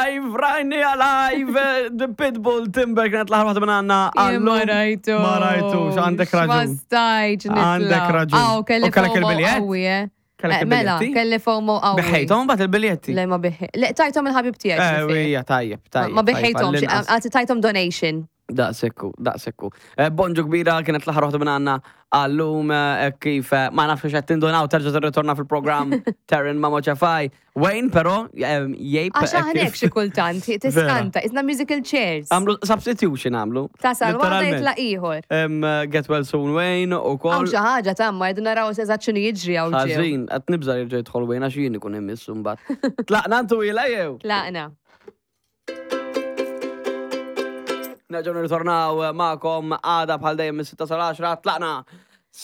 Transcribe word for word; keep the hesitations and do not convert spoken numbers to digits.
Live, rajni live, The Pitbull Timber kienet l-aħħar waħda minn għandna. Jien ma rajtu. Ma rajtux, għandek Ma raġun. stajtx nitla'. Għandek raġun. Aw, kelli U kellek FOMO il-biljett? qawwi, eh. Kellek Eh, Mela, il-biljetti? kelli FOMO qawwi. Biħejthom bat il-biljetti. Le, ma biħi. Le, tajthom il-ħabib tiegħi. Eh, ġifieri. ija, tajjeb, tajjeb. Ma tajjeb, biħejthom, għall-inqas. għati tajthom donation. Daqsekku, daqsekku. Eh, Bonġu kbira kienet l-aħħar waħda minn għandna għallum eh, kif eh, ma nafx qed tindunaw terġa' tirritorna fil-programm Taryn Mamo Ċafaj. Wayne però eh, jgħib Għax eh, aħna kif- xi kultant, tiskanta, isna musical chairs. Għamlu substitution għamlu. Tasal waħda Literalment. jitla ieħor. Em, eh, Get well soon Wayne u Hawn kol. xi ħaġa tamma rridu naraw eżatt x'inhu jiġri hawn ġew. Ħażin, qed nibża' jerġa' jidħol Wayne għax jien ikun immissu mbagħad. Tlaqna ntu ila jew? Tlaqna. Nerġgħu nirritornaw magħkom għada bħal dejjem mis-sitta sal-għaxra. Tlaqna.